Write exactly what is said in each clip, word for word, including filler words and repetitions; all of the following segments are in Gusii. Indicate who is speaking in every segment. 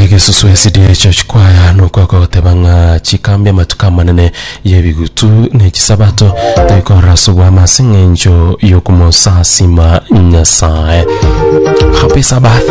Speaker 1: Gesusu S D A Church Choir nokwa goteba ng'a chikambi amatuko amanene y'ebigutu ne chisabato toikorora ase obwama ase eng'encho y'okomosasima Nyasaye. Happy Sabbath.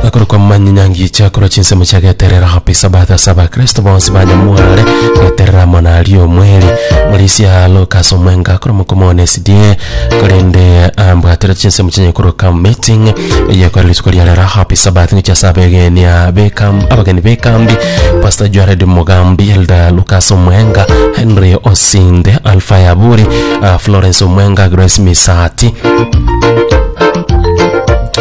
Speaker 1: Akoro kwa manyangi chakoro chinsemo chiageterera happy Sabbath ase abakristo bonsi banyamware geterera monari omweri Mulisia Lucas Omwenga akoro mokomone S D A korende ambwatera chinsemo chinyekoro kam meeting yekora rituko ria rero happy Sabbath ngicha sabegenia bekam abageni bekambi Pastor Jared Mugambi, Elder Lucas Omwenga, Henry Osinde, Alpha Yaburi, uh, Florence Omwenga, Grace Misati,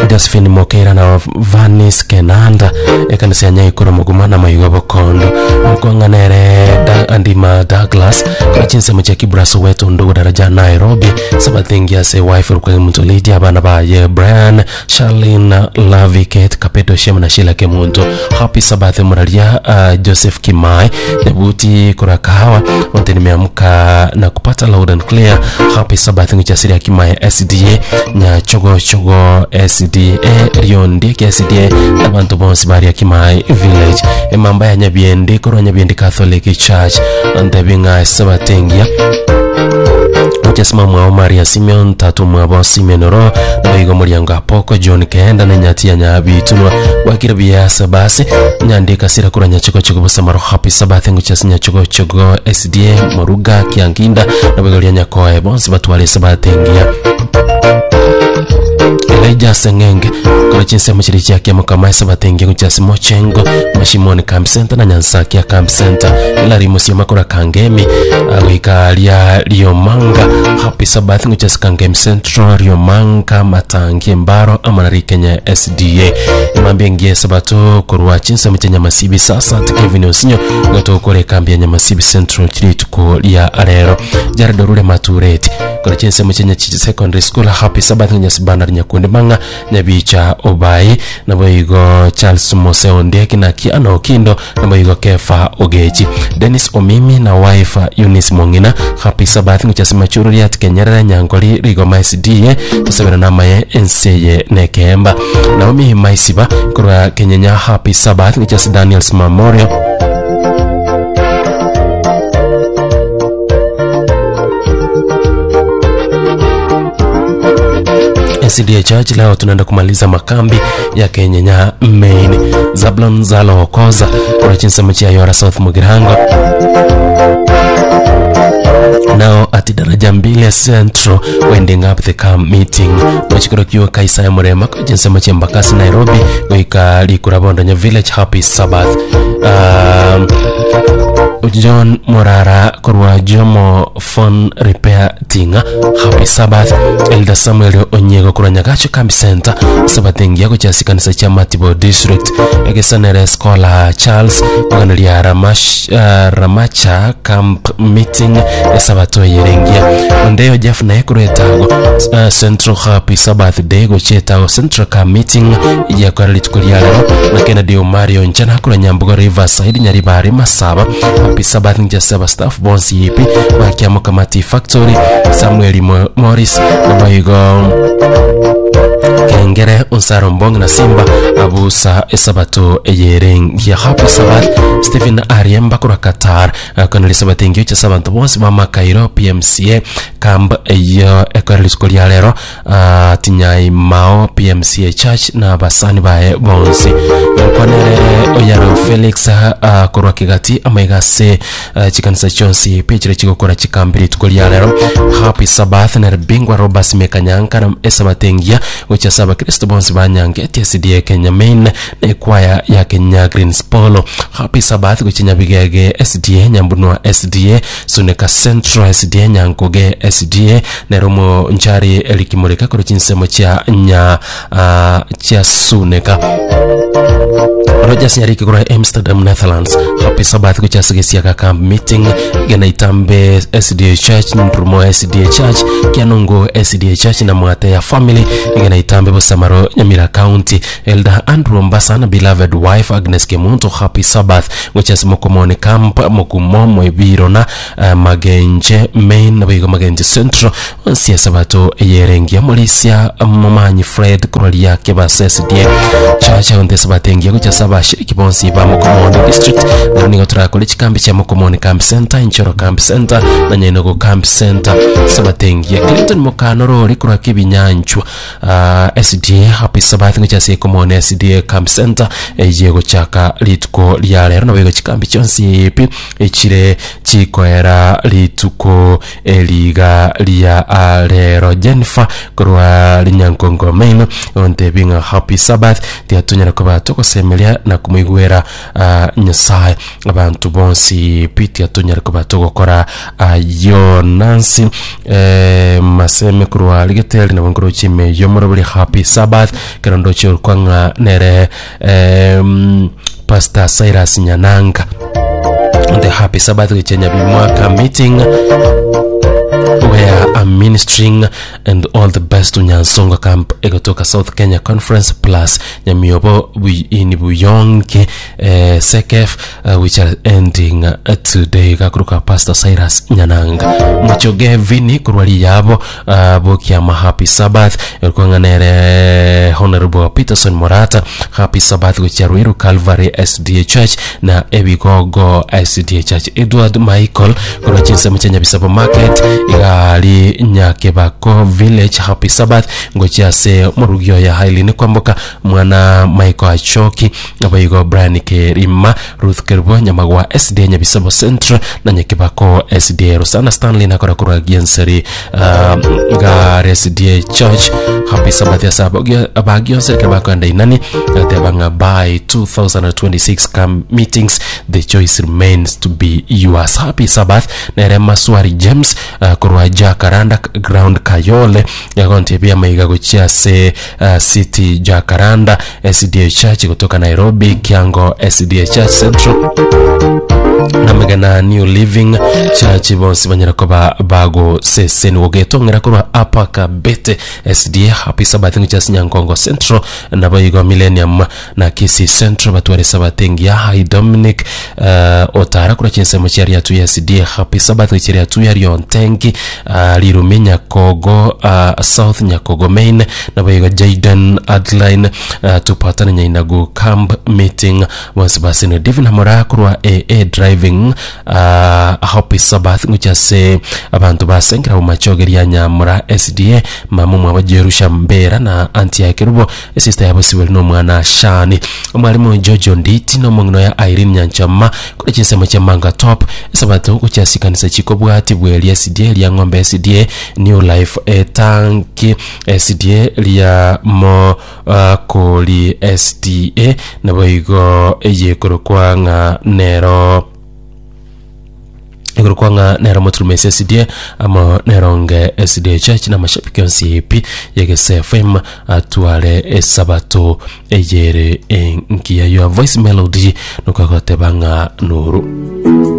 Speaker 1: Josephine Mokera na Vanis Kenanda ekanisa ya Nyaikoro Muguma na Maigo Bokondo Mukwanganere da, Andima Douglas kwa chinsemo cha Kibra Soweto ndugu daraja Nairobi Sabathingi ase wife rukwe muntu Lydia abana baye Brian Charlene Lavi Kate Kapeto Shema na Sheila Kemuntu. Happy Sabbath muraria uh, Joseph Kimai Nyabuti kurakahawa onte nimeamka na kupata loud and clear. Happy Sabbath ngichasiria Kimai S D A Nyachogo Chogo S D A Riondi S D A abantu bonsi baria Kimai Village emamba ya Nyabiendi korwa Nyabiendi Catholic Church ndebinga sabatengia Chesma mwa Maria Simeon tatu mwa Simeon ro na muriango apoko John Kenda na nyati ya Nyabitunwa wakira biasa basi nyandika sira kura nyachiko chiko busamaro happy Sabbath nguchasi nyachiko chiko S D A Moruga Kianginda na bigo lya Nyakoe bonsi batwale sabatengia Elijah Sengenge kwa chinsemo chiri chake mukama sabatengia kuchasi Mochengo Mashimoni Camp Center na Nyansakia Camp Center Hilary Musioma kora Kangemi agwika lya Riomanga Happy Sabbath nguchasi Kangemi Central Riomanga Matangi Mbaro amanari Kenya S D A imambe ngie sabato korwa chinsemo cha Nyamasibi sasa Kevin Osinyo gatokore kambi ya Nyamasibi Central chiri tuko lya arero Jared Rule Matureti kwa chinsemo cha Nyachichi Secondary School Happy Sabbath nyasibana Nyakunde Manga Nyabicha Obai na boigo Charles Mose Ondieki na Kiano Okindo na boigo Kefa Ogechi Dennis Omimi na wife Eunice Mongina Happy Sabbath nguchasima chururia Kenyerere Nyangoli Rigoma S D A tusabira na maye Enseye Nekemba Naomi Maisiba kurwa Kenyenya Happy Sabbath nguchasi Daniels Memorial S D A Church. Leo tunaenda kumaliza makambi ya Kenyenya Main Zablon Zalo Okoza kwa chinsemo cha Yora South Mugirango nao ati daraja mbili Central wending up the camp meeting mwachikoro kiwa Kaisa ya Murema kwa chinsemo cha Mbakasi Nairobi goika Likurabondo Village Happy Sabbath. um, John Morara korwa Jomo Phone Repair Tinga Happy Sabbath. Elder Samuel Onyego korwa Nyagacho Camp Center sabatengia gochasi kanisa cha Matibo District egesanere Scholar Charles oganeria Ramash, uh, Ramacha Camp Meeting esabato yerengia Ondeo Jeff naye korwa etago uh, Central Happy Sabbath Day gochetago Central Camp Meeting yakora rituko ria rero na Kennedy Omario Njana korwa Nyambugo Riverside Nyaribari Masaba Happy Sabbath njasaba staff bonsi yipi bakiamo Kamati Factory Samuel Morris na boigo Kengere Unsaro Mbong na Simba abusa esabato eyerengia Happy Sabbath. Stephen Ariemba korwa Qatar koneli sabato engio cha sabanto bonsi ba Makairo P M C A camp eyo ekoreli rituko ria rero uh, Tinyai Mao P M C A Church na basani bae bonsi konere Oyaro Felix uh, korwa Kigati amaigase uh, chikanisa chonsi pechire chigokora chikambiri rituko ria rero Happy Sabbath na Bingwa Robert Mekanyanka na esabatengia gocha saba Kristo bonsi banyange T S D A Kenya Main na kwaya ya Kenya Greens Polo Happy Sabbath gocha Nyabigege S D A Nyambunwa S D A Suneka Central S D A Nyankoge S D A Neromo Nchari Elikimurika koro chinsemo cha nya uh, cha Suneka Rogers Nyariki kura Amsterdam Netherlands Happy Sabbath gocha sigesiaka camp meeting gena Itambe S D A Church Ndrumo S D A Church Kianungo S D A Church na Mwate ya family Igena Itambe Bosamaro, Nyamira County. Elder Andrew Mbasa na beloved wife Agnes Kemunto, happy Sabbath gochia Mokomoni Camp, Mokumo Mwebirona, uh, Magenje Main, naboigo Magenje Central onsi, esabato eyerengia. Morisia Momanyi Fred korwaria Kebasa S D A Church onte, esabato engiya gochia abashiriki bonsi ba Mokomoni District. Nero nigo turakora chikambi chia Mokomoni Camp Center, Inchoro Camp Center na Nyainogo Camp Center. Sabato engiya. Clinton Mukanorori korwa Kibinyanchwa uh, S D A, happy Sabbath gochia ase Ekomoni S D A Camp Center eye gochaka rituko ria rero, naboigo chikambi chionsi pi echire chikoera rituko eriga ria rero. Jennifer korwa Rinyankongo Main ontebi ng'a happy Sabbath, tiatunyara koba togosemeria na kumuigwera uh, Nyasaye. Abantu bonsi pi tiatunyara koba togokora ayo. Nancy eh, Maseme korwa Rigeteri nabo nkorochime yomoro buri, happy Sabbath. Kero ndoche orkwang'a nere eh, Pastor Cyrus Nyananga, the happy Sabbath gichenya bimwaka meeting where I'm ministering, and all the best to Nyansonga Camp egotoka South Kenya Conference plus Nyamiobo in Buyonke eh, Sekef uh, which are ending uh, today. Gakuruka Pastor Cyrus Nyananga. Muchoge Vini kurwali yabo uh, bokiama, happy Sabbath. Erkwang'anere Honorable Peterson Morata, happy Sabbath gochia Ruiru Calvary S D A Church na Ebigogo S D A Church. Edward Michael korwa chinsemo chia Nyabisabo Market igali Nyakebako Village, happy Sabbath ngochia ase morugio ya Hailini Kwamboka, mwana Michael Achoki, abayigo Brian Kerima, Ruth Kerbo, Nyamagwa S D A, Nyabisabo Central na Nyakebako S D A. Rosana Stanley nakora korwa Gienseri uh, gar S D A Church, happy Sabbath ya saba abagionse kebakwenda inani gatebanga by twenty twenty-six camp meetings, the choice remains to be yours. Happy Sabbath. Nere Maswari James uh, korwa Jacaranda Ground Kayole yagonte maiga gochia se uh, City Jacaranda S D A Church kutoka Nairobi Kiango S D A Church Central namegana New Living Church bonsi banyara koba bago seseni wogetongera korwa Apaka Bete S D A, happy Sabbath ngicha Nyankongo Central nabayigo Millennium na Kisi Central batware Sabbath ngia. Hi Dominic uh, otara kura chinsemo chiaria tu S D A, happy Sabbath chiaria tu ya Riontengi uh, Lirume Nyakogo uh, South Nyakogo Main nabayigo Jaden Adline uh, tupatane Nyainago camp meeting bonsi basine. Divin Hamora kurwa A A Driving, uh, happy Sabbath nguchase abantu basengera mu machogeria Nyamura S D A, mamu mwabo Jerusha Mbera na anti yake rubo, sister yabo Siweli no mwana Shani, omwalimu Jojo Nditi no mong'ino ya Irene Nyanchama kuri chinsemo cha Manga Top. Sabato kuchasikanisa chiko bwati bweli S D A lya Ng'ombe S D A, New Life Etanki S D A lya mo uh, Koli S D A naboigo eyekorokwa ng'a nero iguru nero Muturumesi S D A amo Neronge S D A Church na mashabiki yonsi ep yegese F M atware esabato eyere engiya. Your voice melody nukagoteba ng'a nuru.